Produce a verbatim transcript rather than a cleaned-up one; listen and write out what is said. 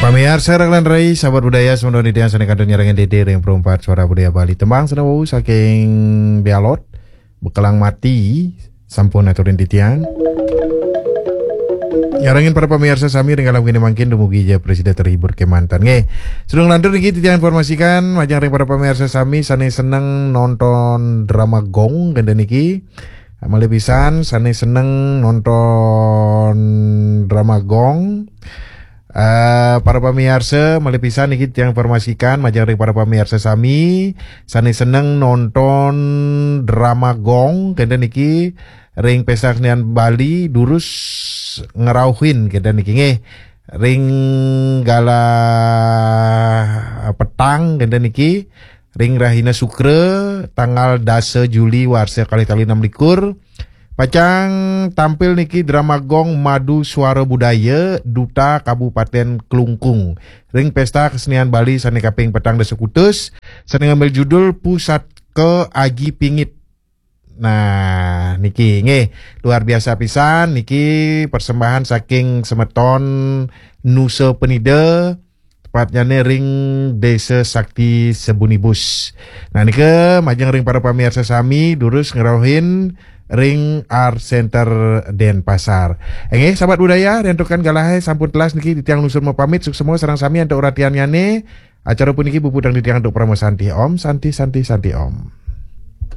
Pamiarsa Raglan Rai, sahabat budaya, semeton titiang sané kantun nyarengin titiang ring Pro empat Suara Budaya Bali. Tembang sané wau saking Bialot, Bekelang Mati, sampun aturin titiang. Nyarengin para pamiarsa sami ring kala wengi mangkin dumugi ja prasida terhibur kemanten. Nggih. Sadurung lantur niki titiang informasikan majeng ring para pamiarsa sami sané seneng nonton drama Gong kénten niki. Malih pisan sané seneng nonton drama Gong. Eh, para pamiarsa, malih pisan niki titiang informasikan majeng ring para pamiarsa sami sané seneng nonton drama Gong kénten niki ring Pesta Kesenian Bali durus ngrauhin kénten niki nggih. Ring galah petang kénten niki ring rahina Sukra tanggal dasa Juli warsa kalih tali enam likur. Pacang tampil niki drama Gong Madu Suara Budaya Duta Kabupaten Klungkung ring Pesta Kesenian Bali sané kaping petang dasa kutus sané ngambil judul Pusaka Aji Pingit. Nah, niki nggih luar biasa pisan niki persembahan saking semeton Nusa Penida, tepatnyané ring Desa Sakti Sebunibus. Nah, nika majeng ring para pamiarsa sami durus ngrauhin ring Art Center Denpasar. Nggih, sahabat budaya, riantukan galahé sampun telas niki titiang lungsur mapamit, suksma sareng sami antuk ratiannyané. Acara puniki puputang titiang antuk parama santi. Om Santi Santi Santi Om.